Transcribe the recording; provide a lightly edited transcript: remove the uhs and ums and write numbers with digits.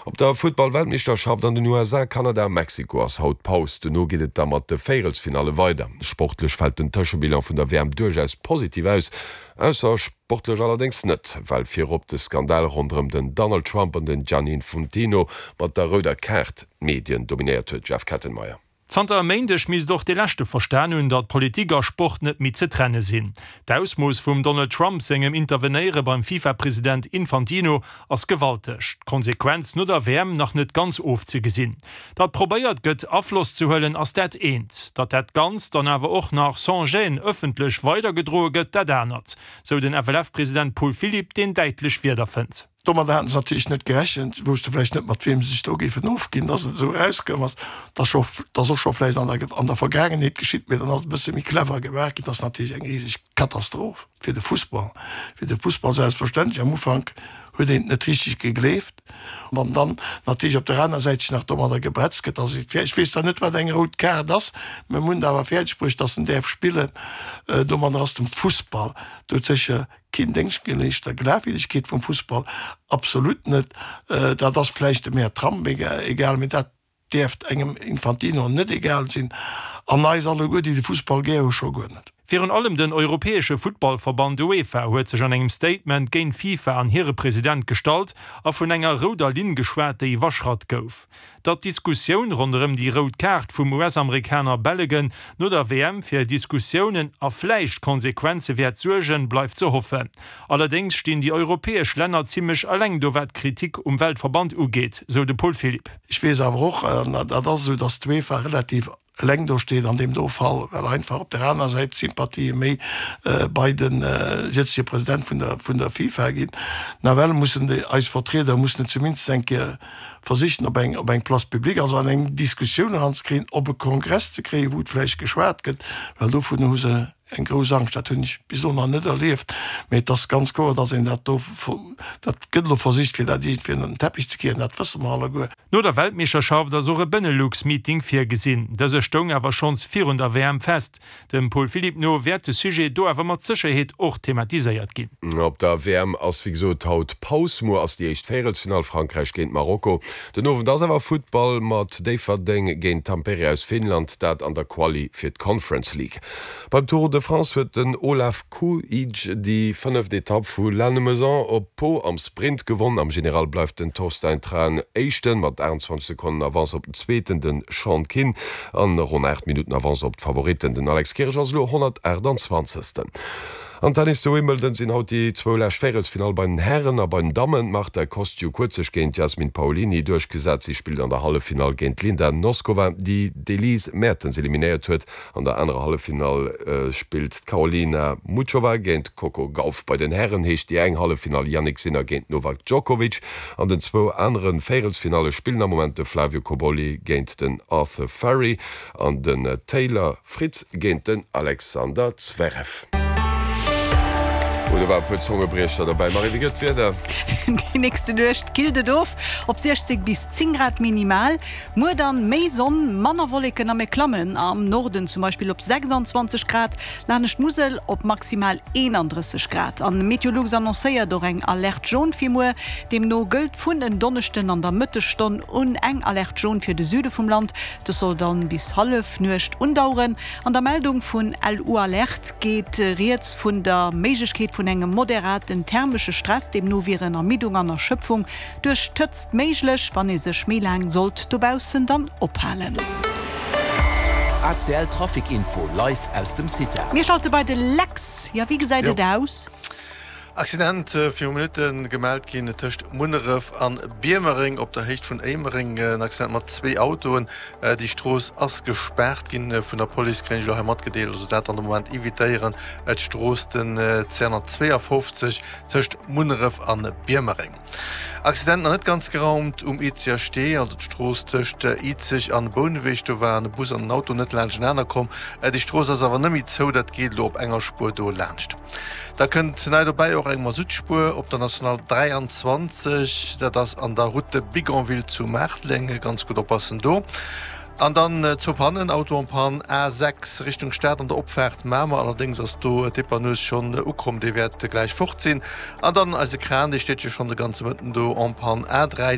Op der Futtball-Weltmeeschterschaft an den USA, Kanada a Mexiko ass haut Paus. Dono geet et da mat de Véierelsfinalle weider. Sportlech fält den Tëschebilan vun der WM duerchaus positiv aus. Ausser sportlech allerdéngs net, well virop de Skandal ronderëm den Donald Trump an den Gianni Infantino mat der rouder Kaart d'Medien dominéiert huet. Jeff Kettenmeyer. Zanter e Méindeg misst och dee Leschte verstan hunn, datt Politik a Sport net méi ze trenne sinn. D'Ausmooss vum Donald Trump sengem Intervenéiere beim FIFA-President Infantino ass gewalteg. D'Konsequenz no der WM nach net ganz ofzegesinn. Datt probéiert gëtt Afloss ze huelen ass dat eent, datt dat Ganzt dann awer och nach sans gêne ëffentlech weidergedroe gëtt dat anert, sou den FLF-President Paul Philipp, deen däitlech Wierder fënnt. Domadder haten se natierlech net gerechent, wousste vläicht net, mat wiem se sech do géifen ofginn, dass et esou erauskoum ass. Dat ass scho, dat ass och scho vläicht an der, an der Vergaangenheet geschitt, mee dann ass et e bësse méi clever gemaach ginn. Dat ass natierlech eng riseg Katastroph fir de Fussball, fir de Fussball selbstverständlech. Am Ufank huet een et net richteg gegleeft. Wann dann natierlech op der aner Säit sech nach domadder gebretzt gëtt, dass et, ech weess zwar net, wat eng rout Kaart ass, mä mir hunn et awer fäerdeg bruecht, dass en däerf spillen. Domadder ass dem Fussball doudsécher Keen Déngscht geleescht der Glafwierdegkeet vum Fussball, absolut net. Dat ass vläicht dem Här Trump egal, mee dat däerft engem Infantino net egal sinn, an eis alleguer, déi de Fussball gär hu, scho guer net. Virun allem den europäesche Futtballverband UEFA huet sech an engem Statement géint d'FIFA an hire President gestallt a vun enger rouder Linn geschwat, déi iwwerschratt gouf. Datt d'Diskussioun ronderëm déi rout Kaart vum US-Amerikaner Bellegen no der WM fir Diskussiounen a vläicht Konsequenze wäert suergen, bleift ze hoffen. Allerdéngs stinn déi europäesch Länner zimmlech eleng do wat d'Kritik um Weltverband ugeet, sou de Paul Philipp. Ech weess awer och, an dat ass esou, datt d'UEFA relativ eleng do steet an deem do Fall, well einfach op der aner Säit d'Sympathië méi bei de jëtzege President vun der vun der FIFA ginn. Nawell mussen déi eis Vertrieder mussen et zumindest eng Kéier versichen op eng op eng Place publique, also an eng Diskussioun eranzekréien, op e Kongress ze kréien, wou et vläicht geschwat gëtt, well dovun hu se eng grouss Angscht. Dat hunn ech bis elo nach net erlieft, mee et ass ganz kloer, dass een dat do, dat gëtt elo versicht, fir dat iergendwéi ënner den Teppich ze kieren, dat wësse mer alleguer. No der Weltmeeschterschaft ass och e Benelux-Meeting virgesinn. Dëse stoung awer schonns virun der WM fest. Dem Paul Philipp no wäert de Sujet do awer mat Sécherheet och thematiséiert ginn. Op der WM ass wéi gesot haut Paus. Muer ass déi éischt Véierelsfinall, Frankräich géint Marokko. Den Owend ass awer Futtball mat Déifferdeng géint Tampere aus Finnland, dat an der Quali fir d'Conference League. Beim Tour de France huet den Olaf Kooij déi fënneft Etapp vu Lannemezan op Pau am Sprint gewonn. Am General bleift den Torstein Træen Éischten mat 28 Sekonnen Avance op den Zweeten, de Sean Kinn, an ronn 8 Minutten Avance op d'Favoritten. Den Alex Kirsch ass elo 128. Am Tennis zu Wimbledon sinn haut déi zwou lescht Véierelsfinall bei den Hären a bei den Dammen. D'Marta Kostyuk huet sech géint d'Jasmine Paolini duerchgesat. Si spillt an der Halleffinall géint d'Linda Noskova, déi d'Elise Mertens eliminéiert huet. An der anerer Halleffinall spillt d'Karolina Muchova géint d'Coco Gauff. Bei den Hären heescht déi eng Halleffinall Jannik Sinner géint Novak Djokovic. An den zwou anere Véierelsfinalle spillen am Moment de Flavio Cobolli géint den Arthur Fery an den Taylor Fritz géint den Alexander Zverev. Oh, do war e puer Zongebriecher derbäi. Marie, wéi gëtt d'Wieder? Déi nächste Nuecht killt et of op 16 bis 10 Grad minimal. Muer dann méi Sonn, manner Wolleken a mir klammen am Norden zum Beispill op 26 Grad, lanescht d'Musel op maximal 31 Grad. An Meteolux annoncéiert och eng Alerte jaune fir muer. Deemno gëllt vun en Donneschden an der Mëttesstonn un eng Alerte jaune fir de Süde vum Land. Dës soll dann bis Hallefnuecht undaueren. An der Meldung vun LU-Alerte geet rieds vun der Méiglechkeet vun engem moderaten thermesche Stress. Deemno wieren Ermiddung an Erschëpfung Duerch d'Hëtzt méiglech, wann ee sech méi laang sollt dobaussen dann ophalen. ACL Trafic Info live aus dem CITA. Mir schalte bei de Lex. Jo, wéi gesäit et aus? Accident viru Minutte gemellt ginn tëscht Munneref an Biermereng op der Héicht vun Éimereng. En Accident mat zwee Autoen. Déi Strooss ass gespaart ginn vun der Police, kréien ech elo hei matgedeelt. Also dat an de Moment evitéieren, d'Strooss den 252 tëscht Munneref an Biermereng. Accident nach net ganz geraumt um Izeger Stee, also d'Strooss tëscht Izeg an Bouneweg. Do waren e Bus an en Auto net laanschtenaner komm. Déi Strooss ass awer net méi zou, dat geet elo op enger Spuer do laanscht. Da kënnt nei dobäi och eng Masuttspuer op der National 23, dat ass an der Route de Bigonville zu Maarteleng. Ganz gutt oppassen do. An dann zwou Pannen, Auto en panne, A6 Richtung Stad an der Opfaart Mamer, allerdéngs ass do d'Dépanneuse schonn ukomm, déi wäert gläich fort sinn. An dann eise Kran, dee steet jo schonn de ganze Mëtten do en panne, A3.